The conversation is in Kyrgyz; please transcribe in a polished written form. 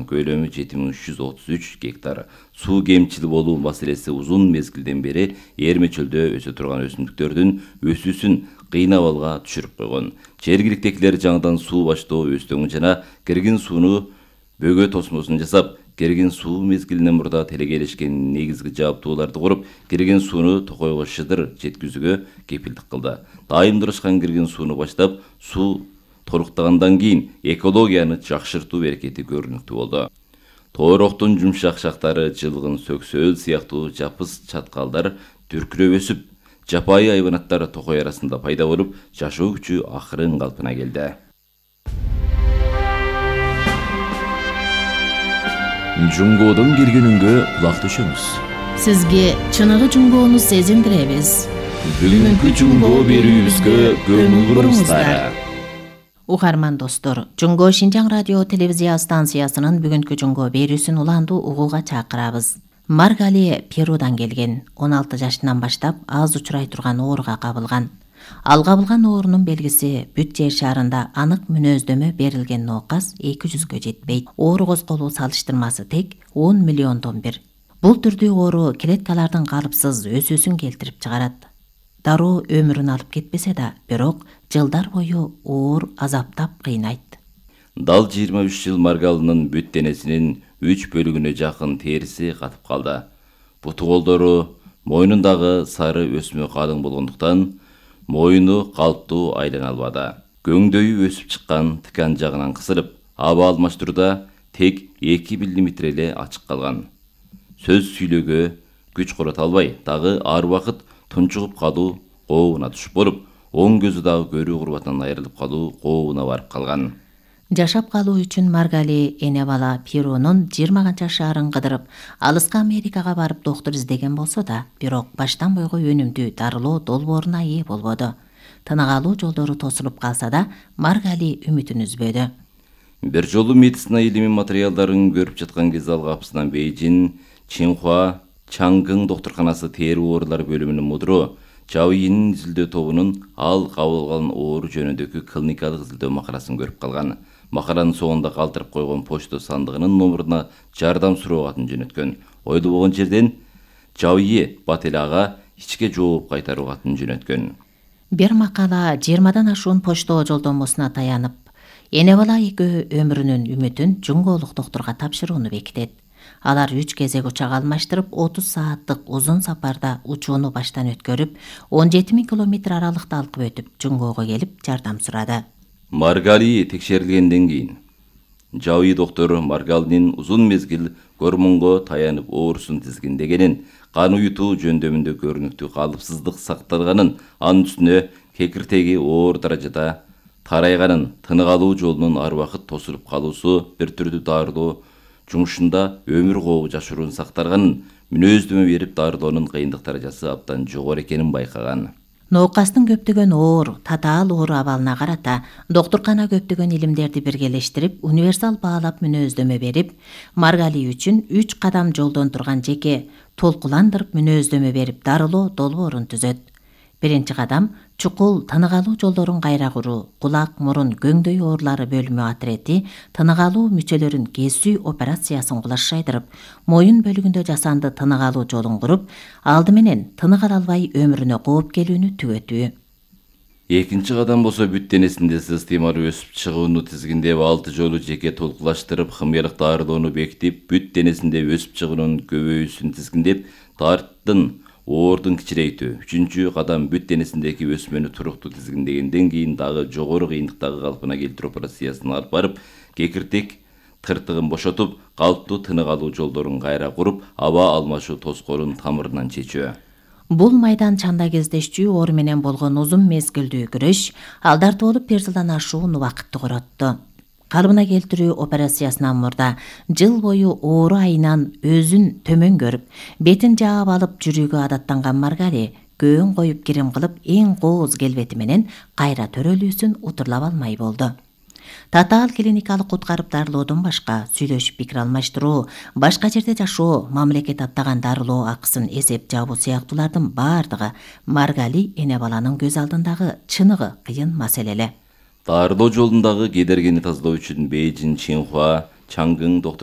турган, көлөмү 7333 гектар. Суу кемчил болуу маселеси узун мезгилден бери Эрме чөлдө өсө турган өсүмдүктөрдүн өсүүсүн кыйнабалга түшүрүп койгон. Жергиликтегилер жаңыдан суу баштоо өстөңү жана киргин сууну бөгө тосмосун жасап, киргин суу мезгилинен мурда телегелешкен негизги жабдууларды куруп, киргин сууну токойго шыдыр жеткизүүгө кепилдик кылды. Дайымдырышкан киргин сууну баштап, суу толуктагандан кийин экологияны жакшыртуу берекети көрүнүктүү болду. Тойроктун жумшак шактары, жылгын, сөксөөл сыяктуу жапыс чаткалдар дүркүрөп өсүп, жапайы айванаттар токой арасында пайда болуп, жашоо күчү акырын калпына келди. Жунгоодон киргенүнгө кулак түшөңүз. Сизге чыныгы жунгоону сезиндиребиз. Бүгүнкү жунгоо берүүбүзгө көңүл буруңуздар. Угарман достор, Жунгоо Шинжаң радио телевизия станциясынын бүгүнкү жунгоо берүүсүн уланду угууга чакырабыз. Маргали Перудан келген, 16 жашынан баштап аз учурай турган ооруга кабылган. Ал кабылган оорунун белгиси бүт жер шаарында анык мүнөздөмө берилген ноокас 200гө жетпейт. Оору козголуу салыштырмасы тек 10 миллиондон бир. Бул түрдүү оору клеткалардын калыпсыз өсүүсүн келтирип чыгарат. Дароо өмүрүн алып кетпесе да, бирок жылдар бою оор азаптап кыйнайт. Дал 23 жыл Маргалынын бүт денесинин 3 бөлүгүнө жакын териси катып калды. Буту колдору, мойнундагы сары өсмө калың болгондуктан мойну калыптуу айлана албады. Көңдөйү өсүп чыккан, тикан жагынан кысылып, аба алмаштырууда тек 2 мм эле ачык калган. Сөз сүйлөөгө күч корото албай, дагы ар убакыт тунчугуп калуу кообуна түшүп болуп, оң көзү дагы көрүү курбатынан айрылып калуу кообуна барып калган. Жашап калуу үчүн Маргали эне бала Перунун 20 канча шаарын кыдырып, алыска Америкага барып доктур издеген болсо да, бирок баштан бойго өнүмдүү дарылоо долбооруна ээ болбоду. Тынык алуу жолдору тосулуп калса да, Маргали үмүтүн үзбөдү. Бир жолу медицина илими материалдарын көрүп жаткан кез ал капысынан Бейжин, Чинхуа, Чангын доктурканасы тери оорулар бөлүмүнүн мудуру Жауинин изилдөө тобунун ал кабыл алган оору жөнүндөгү клиникалык изилдөө макаласын көрүп калган. Макаланын соңунда калтырып койгон почта сандыгынын номуруна жардам суроо катын жөнөткөн. Ойлобогон жерден Жауи Бателага ичке жооп кайтаруу катын жөнөткөн. Бир макала 20дан ашуун почтоо жолдомосуна таянып, эне бала экөө өмүрүнүн үмүтүн жунгоолук доктурга тапшырууну бекитет. Алар 3 кезек учак алмаштырып, 30 сааттык узун сапарда учууну баштан өткөрүп, 17 000 километр аралыкты алкып өтүп, жунгоого келип жардам сурады. Маргали текшерилгенден кийин Жауи доктор Маргалинин узун мезгил гормонго таянып оорусун тизгиндегенин, кан уютуу жөндөмүндө көрүнүктүү калыпсыздык сакталганын, анын үстүнө кекиртеги оор даражада тарайганын, тынык алуу жолунун ар убакыт тосулуп калуусу, бир түрдүү дарылоо жумушунда өмүр кообу жашыруун сакталганын, мүнөздөмө берип дарылоонун кыйындык даражасы абдан жогору экенин байкаган. Ноокастын көптөгөн оор, татаал оору абалына карата доктуркана көптөгөн илимдерди биргелештирип, универсал баалап мүнөздөмө берип, Маргали үчүн 3 кадам жолдон турган жеке толкуландырып мүнөздөмө берип дарылоо долбоорун түзөт. Биринчи кадам чукул тынык алуу жолдорун кайра куруу, кулак, мурун, көңдөй оорулары бөлүмү атрети тынык алуу мүчөлөрүн кесүү операциясын кулаш жайдырып, моюн бөлүгүндө жасанды тынык алуу жолун куруп, алды менен тынык ала албай өмүрүнө кооп келүүнү түгөтүү. Экинчи кадам болсо бүт денесинде системалуу өсүп чыгууну тизгиндеп, 6 жолу жеке толкулаштырып, химиялык дарылоону бекитип, бүт денесинде өсүп чыгуунун көбөйүүсүн тизгиндеп, тарттын оордун кичирейтүү. Үчүнчү кадам бүт денесиндеги өсмөнү туруктуу тизгиндегенден кийин дагы жогору кыйындыктагы калпына келтирүү операциясын алып барып, кекиртек тыртыгын бошотуп, калыптуу тынык алуу жолдорун кайра куруп, аба алмашуу тоскоолун тамырынан чечүү. Бул майдан чанда кездешчү оору менен болгон узун мезгилдүү күрөш алдарты болуп 1 жылдан ашуун убакытты коротту. Калыбына келтирүү операциясынан мурда жыл бою оору айынан өзүн төмөн көрүп, бетин жаап алып жүрүүгө адаттанган Маргали көөн коюп кирим кылып, эң кооз келбети менен кайра төрөлүүсүн утурлап алмай болду. Татаал клиникалык куткарып дарылоодон башка сүйлөшүп пикир алмаштыруу, башка жерде жашоо, мамлекет аттаган дарылоо акысын эсеп жабуу сыяктуулардын бардыгы Маргали эне баланын көз алдындагы чыныгы кыйын маселелер. Дарылоо жолундагы кедергини тазалоо үчүн Бейжин, Чинхуа, Чангын доктор